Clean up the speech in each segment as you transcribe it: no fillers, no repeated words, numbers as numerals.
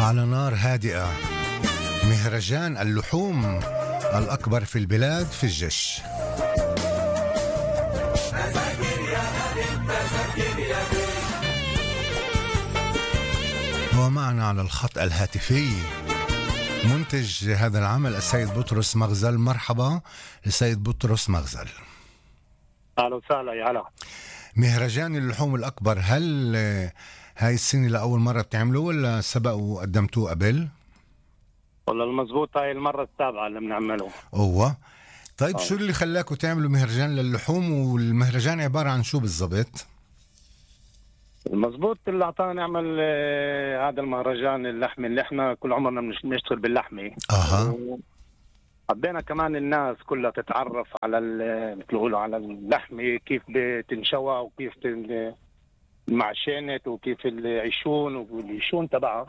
على نار هادئة مهرجان اللحوم الأكبر في البلاد في الجيش. ومعنا على الخط الهاتفي منتج هذا العمل السيد بطرس مغزل. مرحبا السيد بطرس مغزل. أهلا وسهلا. يا هلا. مهرجان اللحوم الأكبر، هل هاي السنة لأول مرة بتعملوه ولا سبق وقدمتوه قبل؟ والله المزبوط هاي المرة السابعة اللي بنعمله. طيب شو اللي خلاكوا تعملوا مهرجان للحوم، والمهرجان عبارة عن شو بالضبط؟ المزبوط اللي أعطانا نعمل هذا المهرجان اللحمي اللي احنا كل عمرنا بنشتغل باللحمي. حبينا كمان الناس كلها تتعرف على بتقولوا على اللحمي، كيف بتنشوى وكيف المعشنت وكيف العيشون والعيشون تبعها.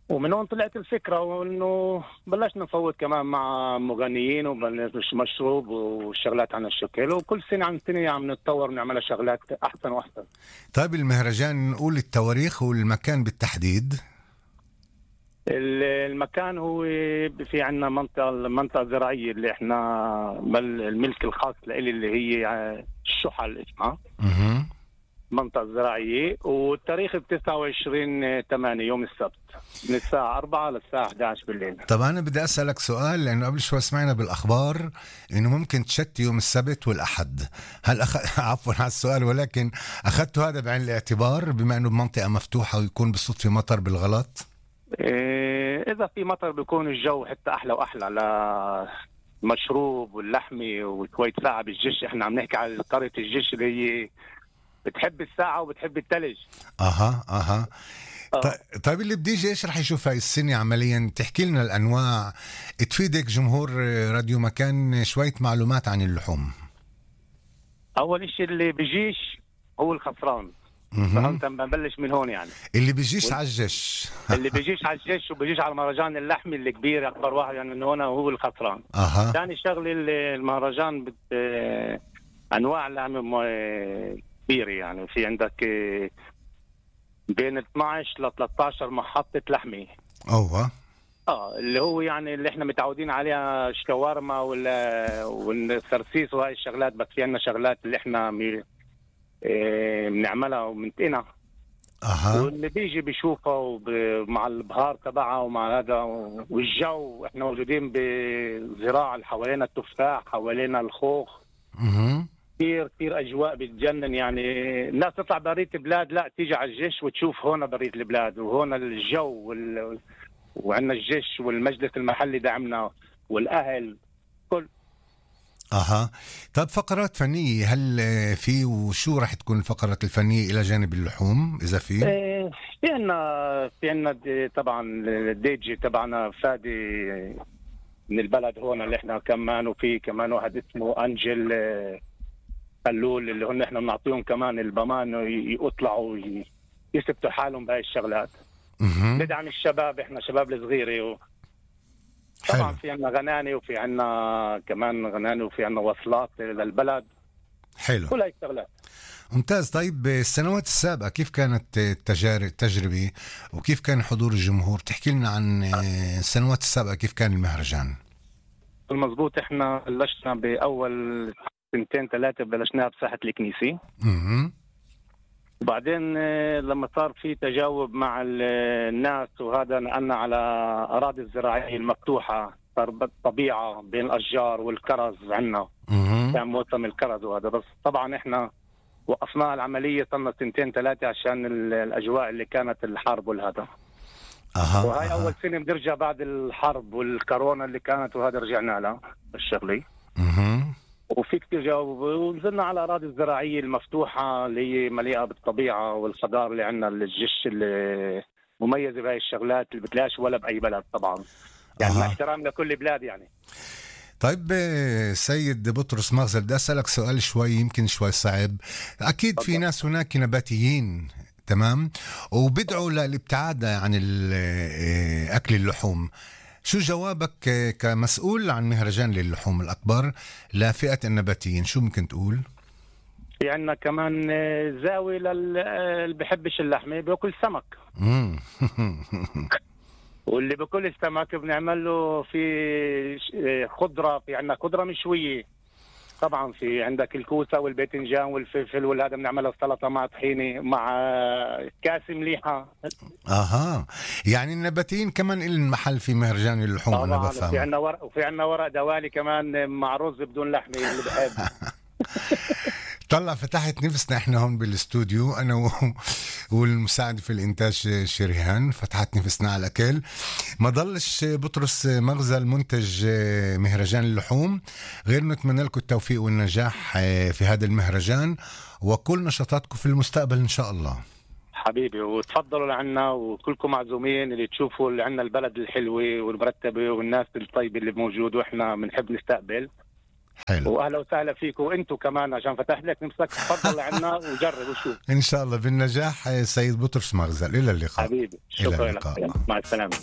ومن هون طلعت الفكرة، وإنه بلشنا نفوت كمان مع مغنيين وبلش مشروب وشغلات عن الشكل، وكل سنة عن سنة عم نتطور ونعمل شغلات أحسن وأحسن. طيب المهرجان نقول التواريخ والمكان بالتحديد؟ المكان هو في عنا منطقة زراعية اللي احنا الملك الخاص لإلي اللي هي الشحل اسمها. منطقة زراعية، والتاريخ 29/8 يوم السبت من الساعة 4 للساعة 11 بالليل. طب أنا بدي أسألك سؤال، لأنه قبل شوي سمعنا بالأخبار إنه ممكن تشتي يوم السبت والأحد. هل عفوا على السؤال، ولكن أخذتوا هذا بعين الاعتبار بما إنه بمنطقة مفتوحة ويكون بالصدفة مطر بالغلط؟ إذا في مطر بيكون الجو حتى أحلى وأحلى للمشروب واللحمي وشوية ساعة بالجيش. إحنا عم نحكي على قرية الجيش اللي هي بتحب الساعة وبتحب الثلج. طيب اللي بدي يجي ايش رح يشوف هاي السنة عمليا؟ تحكي لنا الأنواع، تفيدك جمهور راديو مكان شوية معلومات عن اللحوم. أول إشي اللي بيجيش هو الخسران. فهمت؟ بنبلش من هون يعني. اللي بيجيش على الجيش اللي بيجيش على الجيش وبيجيش على المهرجان اللحمي الكبير أكبر واحد يعني من هون هو الخسران. ثاني شغلة المهرجان أنواع لحم كبيرة، يعني في عندك بين 12 ل 13 محطة لحمة. اللي هو يعني اللي احنا متعودين عليها الشاورما والسرسيس وهاي الشغلات، بس في عنا شغلات اللي احنا بنعملها ومنتقنها. واللي بيجي بيشوفها مع البهار تبعها ومع هذا والجو. احنا موجودين بزراعة اللي حوالينا التفاح، حوالينا الخوخ. كثير أجواء بتجنن، يعني الناس تطلع برية البلاد لا تيجي على الجيش وتشوف هون برية البلاد وهون الجو وعندنا الجيش والمجلس المحلي دعمنا والأهل كل. طب فقرات فنية هل في، وشو رح تكون الفقرات الفنية إلى جانب اللحوم إذا في؟ في عنا طبعا الديجي تبعنا فادي من البلد هون اللي احنا كمان، وفي كمان واحد اسمه أنجل قلول اللي هن احنا بنعطيهم كمان البمان يطلعوا يثبتوا حالهم بهاي الشغلات. ندعم الشباب، احنا شباب الصغيره طبعا في عنا غناني وفي عنا كمان غناني وفي عنا وصلات للبلد. حلو، كل هاي الشغلات ممتاز. طيب السنوات السابقة كيف كانت التجربة وكيف كان حضور الجمهور؟ تحكي لنا عن السنوات السابقة كيف كان المهرجان. المزبوط احنا بلشنا بأول 2-3 بلشناها بساحة الكنيسة. وبعدين لما صار في تجاوب مع الناس وهذا نقلنا على أراضي الزراعية المفتوحة، صار طبيعة بين الأشجار والكرز عنا. كان موسم الكرز وهذا، بس طبعا احنا وقفنا العملية صرنا 2-3 عشان الأجواء اللي كانت الحرب والهذا. وهاي أول سنة بنرجع بعد الحرب والكورونا اللي كانت، وهذا رجعنا لها الشغلي. وفي كتير جاوب، ونزلنا على الأراضي الزراعية المفتوحة اللي هي مليئة بالطبيعة والخضار اللي عندنا الجيش اللي مميزة بهاي الشغلات اللي بتلاقيش ولا بأي بلد طبعا، يعني مع احترام لكل بلاد يعني. طيب سيد بطرس مغزل، بدي أسألك سؤال شوي يمكن شوي صعب. أكيد في ناس هناك نباتيين تمام وبدعوا للابتعاد عن أكل اللحوم. شو جوابك كمسؤول عن مهرجان للحوم الأكبر لفئة النباتيين؟ شو ممكن تقول؟ في عنا كمان زاوية اللي بحبش اللحمة بياكل سمك. واللي بكل السمك بنعمل له في خضرة، في عنا خضرة مشوية طبعا، في عندك الكوسة والباذنجان والفلفل والهذا بنعملها السلطة مع طحينة مع كاس مليحة. يعني النباتيين كمان إلن محل في مهرجان اللحوم. أنا بفهم. وفي عنا ورق دوالي كمان مع رز بدون لحمة اللي بحب. طلع فتحت نفسنا احنا هون بالاستوديو انا والمساعد في الانتاج شريهان، فتحت نفسنا على الاكل. ما ضلش بطرس مغزل منتج مهرجان اللحوم غير نتمنى لكم التوفيق والنجاح في هذا المهرجان وكل نشاطاتكم في المستقبل ان شاء الله حبيبي. وتفضلوا لعنا وكلكم معزومين اللي تشوفوا اللي عنا البلد الحلوة والمرتبة والناس الطيبة اللي موجود، واحنا بنحب نستقبل. حلو. واهلا وسهلا فيكم وانتم كمان عشان فتحت لك نفسك. تفضل عنا وجرب وشوف ان شاء الله بالنجاح. سيد بطرس مغزل، الى اللقاء. حبيبي شكرا لك، مع السلامه.